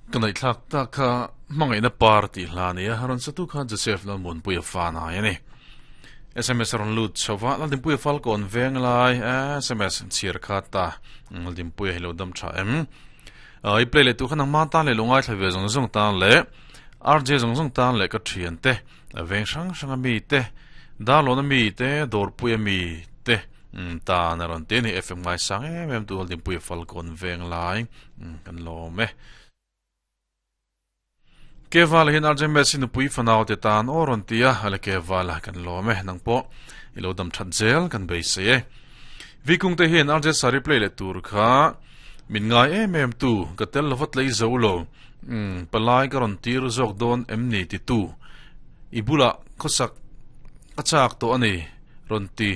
Ka ngaihthlak tak kha hmangaihna par tih hla a ni a, rawn satu kha Joseph Lalmuanpuia fa nai a ni. SMS a rawn lut chho va, Laldinpuia Falkawn veng lai SMS chhiar kha ta Laldinpuia hi lo dam tha em. I play leh tur kha nangma tan leh lo ngaithla ve zawng zawng tan leh RJ zawng zawng tan leh ka thian te veng hrang hrang a mi te Darlawn a mi te Dawrpui a mi te tan a rawn ti a ni. FM ngaisang em em tu Laldinpuia Falkawn veng lai. Kan lawm e. Kevala hian RJ Messi nupui fanau te tan aw rawn ti a, ale Kevala kan lawm e, nang pawh i lo dam that zel kan beisei e. Vikung te hian RJ Sari play leh tur kha min ngai em em tu, ka tel lova tlei zo lo, palai ka rawn tir zawk dawn em ni ti tu, i bulah khawsak a chak tawh a ni rawn ti.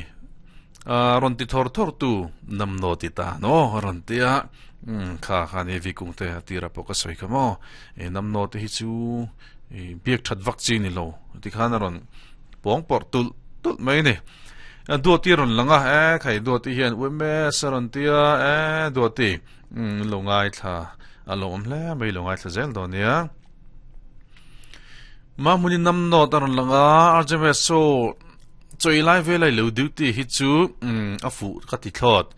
Rawn ti thawr thawr tu nam naw ti ta no rawn ti a kha kha ni vi kung te a tira pawh ka sawi kha maw e nam naw te hi chu biak that vak chi ni lo ti khan a rawn pawng pawrh tulh tulh mai ni duati rawn lang a e khai duati hian umes a rawn ti a e duati lo ngai thla a lo awm hle mai lo ngai thla zel dawn nia mahmuni nam nawt a rawn lang a RJMS so Chawi lai vel a i lo duty hi chu a fuh ka ti thlawt.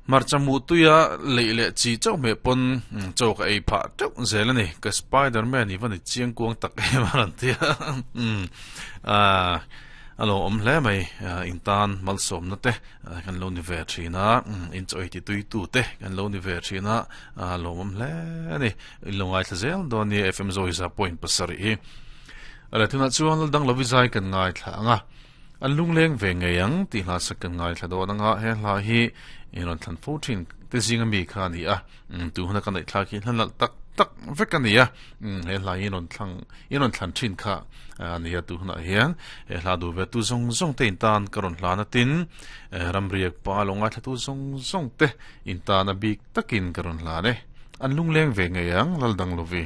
Hmarcha hmuh tuia leih leh chi chauh hmeh pawn chaw ka ei phah teuh zel a ni. Ka Spiderman i va ni chiang kuang tak em a rawn ti a. A lo awm hle mai in tan malsawmna te kan lo ni ve thin a, in chaw ei ti tui tu te kan lo ni ve thin a, a lawmawm hle a ni. In lo ngaithla zel dawn nia FM Zawisa point pasarih hi. Ala tunah chuan lal dang lovi zai kan ngaithla ang a, an lungleng ve ngei ang tih hla sak kan ngaithla dawn ang a, he hla hi in rawn thlan fo thin te zinga mi kha a ni a, tu huna ka neih thlak hi hla nalh tak tak vek a ni a, he hla hi in rawn thlang in rawn thlan thin kha a ni a, tu hunah hian he hla duh ve tu zawng zawng te in tan ka rawn hlan a tin, ramriak pa lo ngaithla tu zawng zawng te in tan a bik takin ka rawn hlan e, an lungleng ve ngei ang lal dang lovi.